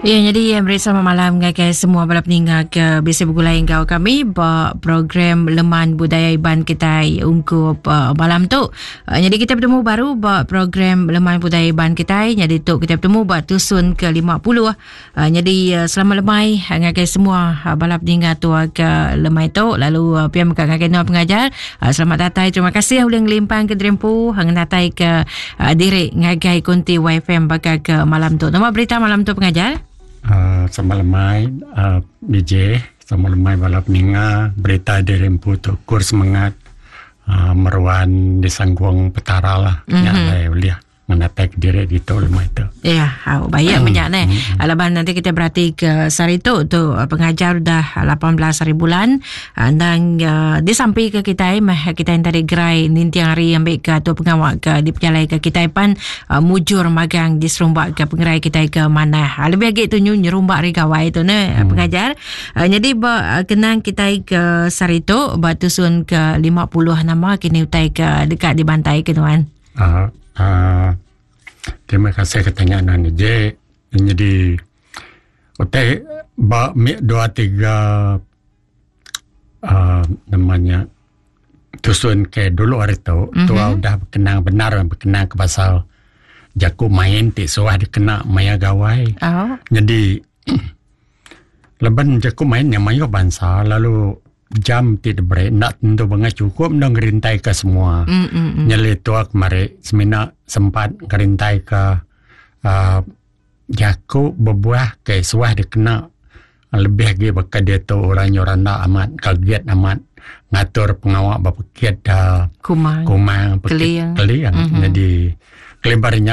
Ya, jadi meri selamat malam ngagai semua bala peninga ke bisi begulai enggau kami ba program Leman Budaya Iban kitai ungkup uh, malam tu. Uh, jadi kita bertemu baru ba program Leman Budaya Iban kitai. Jadi tu kita bertemu ba tusun ke-50. Uh, jadi uh, selamat lemai ngagai semua uh, bala peninga tua ke lemai tu lalu uh, pia mega ngagai nuan pengajar. Uh, selamat datai. Terima kasih ulih ngelimpang ke dirimpu ngenatai ke uh, diri ngagai konti YFM baka ke malam tu. Nama berita malam tu pengajar? Uh, sama lemai uh, DJ, sama lemai bala peninga berita diri empu tu kur semangat uh, meruan disanggung petara lah. Mm -hmm. Nya alai ulih ngenatai ke diri ditu lemai tu. Ya, au baik mm. banyak neh. Mm. Laban nanti kita berarti ke sehari tu tu pengajar dah 18 hari bulan Endang disampi ke kitai meh kitai enti ari gerai ninting hari ambi ke atur pengawa ke dipejalai ke kitai pan mujur magang diserumba ke pengerai kitai ke manah. Lebih agi tu nyu nyerumba ari gawai tu ne pengajar. Nyadi ba kenang kitai ke sehari tu ba tusun ke 50 nama kini utai ke deka dibantai ke nuan. Uh, uh, terima kasih ke tanya nuan je. Jadi utai ba mi dua tiga uh, nama nya tusun ke dulu hari tu mm-hmm. tua udah berkenang benar berkenang ke pasal jaku main ti suah dikena maya gawai. Oh. Jadi laban jaku main nya mayuh bansa lalu jam ti diberi enda tentu bengai cukup enda ngerintai ke semua. Mm-hmm. Nyeli tua kemari semina sempat ngerintai ke uh, Jaku bebuah ke suah dikena lebih agi baka diatu orang nyau randa amat kaget amat ngatur pengawa ba pekit Kumang, kumang pekit Keling. Keling. Mhm. Jadi kelimpah ari nya.